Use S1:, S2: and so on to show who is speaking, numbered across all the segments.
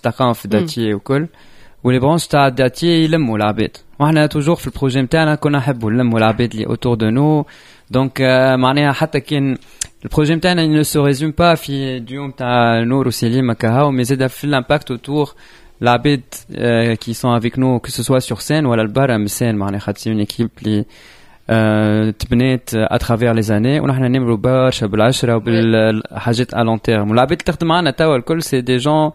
S1: تلقاهم في داتي وكل، و les branches تاع داتي يلموا العباد، واحنا toujours في ال projet نتاعنا كنا نحبوا نلموا العباد اللي autour de nous. donc معناها حتى كان ال projet نتاعنا ne se résume pas في ديوم تاع نور وسليم كهو، mais زاد في l'impact autour العباد qui sont avec nous، que ce soit sur scène ولا البرا من ال scène. معناها خاطر c'est une équipe اللي تبنات à travers les années، ونحن نمروا برشا بالعشره وبالحاجات à long terme. والعباد اللي تخدم معنا توا الكل c'est des gens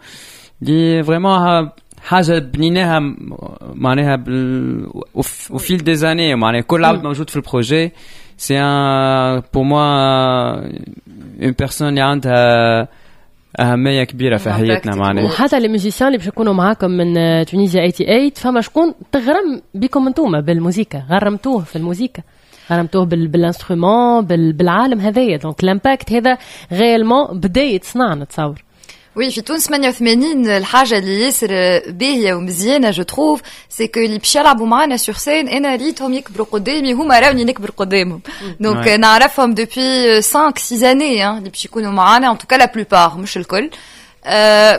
S1: اللي vraiment حاجه بنيناها معناها au fil des années. معناها كل عبد موجود في ال projet c'est un pour moi une personne اللي عندها اهميه كبيره في حياتنا معناها.
S2: وحتى les musiciens اللي باش يكونوا معاكم من تونيزيا 88، فما شكون تغرم بكم انتوما بالموزيكا، غرمتوه في الموزيكا، غرمتوه بال instrument، بالعالم هذايا، donc l'impact هذا réellement بدا يتصنع نتصور.
S3: oui، في تونس 88 الحاجة اللي ياسر باهية ومزيانة je trouve c'est que اللي باش يلعبوا معانا sur scène انا ريتهم يكبروا قدامي، هما راوني نكبر قدامهم، donc نعرفهم depuis 5 6 années اللي باش يكونوا معانا، en tout cas la plupart، مش الكل.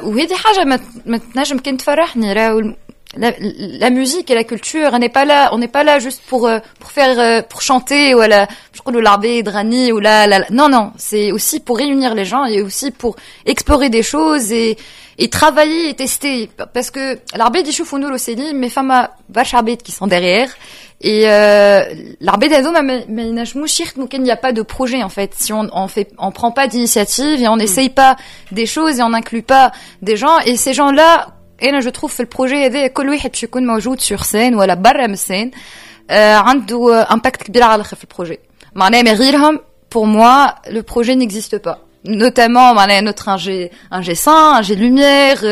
S3: وهذه حاجة ما تنجم كان تفرحني. راهو la musique et la culture، on n'est pas là، on n'est pas là juste pour faire pour chanter ولا باش نقولوا العباد غني ولا لا. non non، c'est aussi pour réunir les gens et aussi pour explorer des choses et travailler et tester، parce que العباد يشوفوا نور وسليم، mais فما برشا عباد qui sont derrière et العباد هذوما ما ينجموش يخدموا كان il n'y a pas de projet en fait، si on prend pas d'initiative et on n'essaye pas des choses et on n'inclut pas des gens. et ces gens là، انا je trouve في ال projet هذا كل واحد باش يكون موجود sur scène ولا برا من ال scène عنده impact كبير على الاخر في ال projet. معناها من غيرهم pour moi le projet n'existe pas، notamment معناها notre ingé son، ingé lumière،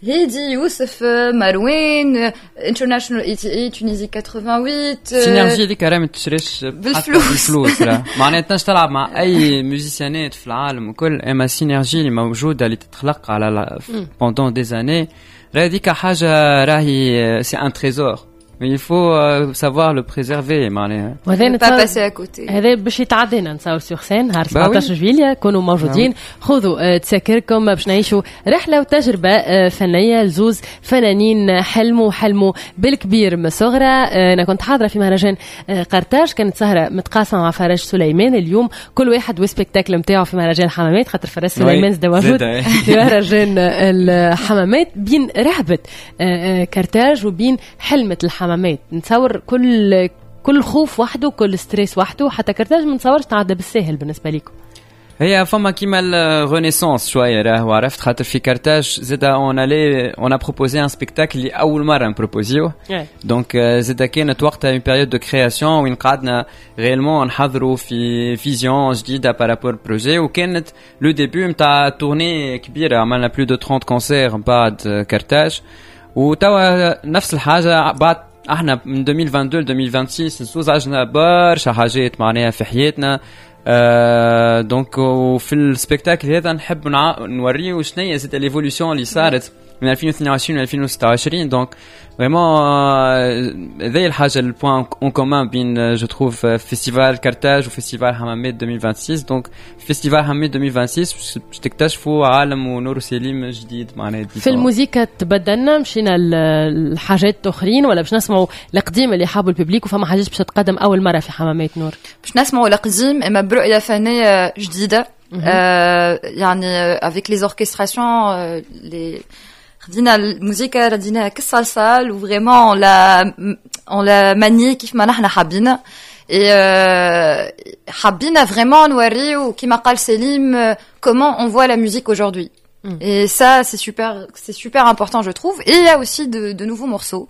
S3: هادي، يوسف، مروان، International 88، Tunisie 88.
S1: synergie هذيك راه ما تشريش
S3: بالفلوس.
S1: بالفلوس راه معناها تنجم تلعب مع اي musicienات في العالم وكل، اما synergie اللي موجوده اللي تتخلق على pendant des années راه هذيك حاجه راهي c'est un trésor، il faut savoir le préserver معناها.
S2: وهذا
S3: pas passer à côté.
S2: هذا باش يتعدينا نتصور sur scène نهار 17 جويليا. كونوا موجودين، خذوا تساكركم باش نعيشوا رحله وتجربه فنيه لزوز فنانين حلموا حلموا بالكبير من الصغرى. انا كنت حاضره في مهرجان قرطاج، كانت سهره متقاسمه مع فرج سليمان. اليوم كل واحد و spectacle نتاعو في مهرجان الحمامات، خاطر فرج سليمان زاد موجود في مهرجان الحمامات. بين رهبه قرطاج وبين حلمه الحمامات، نتصور كل خوف وحده، كل stress وحده. حتى قرطاج ما نتصورش تعدى بالساهل بالنسبه لكم.
S1: هي فما كيما ال renaissance شويه راهو، عرفت، خاطر في كارتاج زاد on allait on a proposé un spectacle اللي اول مره نبروبوزيوه، donc زاد كانت وقتها une période de création وين قعدنا réellement نحضروا في vision جديده par rapport projet، وكانت le début نتاع tournée كبيره، عملنا plus de 30 concerts بعد كارتاج. وتوا نفس الحاجه، بعد احنا من 2022 ل 2026 نسوز عشنا برشا حاجات معناها في حياتنا. Donc وفي ال spectacle هذا نحب نوريو شنو هي زاد l'évolution اللي صارت من 2022 ل 2026. donc vraiment هذه الحاجه ال point en commun بين je trouve festival كارتاج و festival حمامات 2026. donc festival حمامات 2026 باش تكتشفوا عالم ونور سليم جديد معناها.
S2: في الموزيكا تبدلنا، مشينا لحاجات اخرين ولا باش نسمعوا القديم اللي حابوا ال public، وفما حاجات باش تتقدم اول مره في حمامات نور؟
S3: باش نسمعوا القديم اما برؤيه فنيه جديده، يعني avec les orchestrations، les خدينا الموسيقى رديناها كالصلصال و vraiment on l'a maniée كيف ما نحن حابين، et حبينا vraiment نوريو كيما قال سليم comment on voit la musique aujourd'hui. Et ça, c'est super important, je trouve. Et il y a aussi de nouveaux morceaux.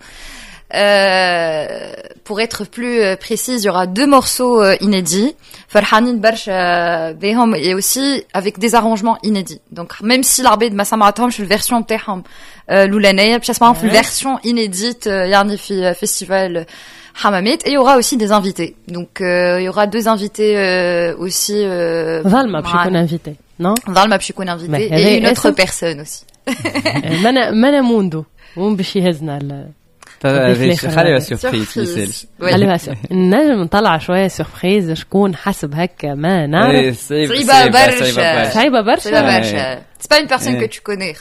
S3: Pour être plus précise, il y aura deux morceaux inédits, فرحانين برشا بهم، et aussi avec des arrangements inédits. Donc même si العباد ما سمعتهمش ال version نتاعهم الاولانيه، باش يسمعوهم في ال version inédite يعني في festival حمامات. et il y aura aussi des invités. Donc il y aura deux invités aussi.
S2: ظلمة باش يكون invité، non؟
S3: ظلمة باش يكون invité et une autre personne aussi.
S2: منا موندو وين باش يهزنا؟
S1: خليها surprise.
S3: ميسالش.
S2: خليها. نجم نطلع شوية surprise، شكون حسب هكا ما نعرف.
S3: صعيبة برشا.
S2: صعيبة برشا.
S3: صعيبة برشا. c'est pas une personne que tu connais.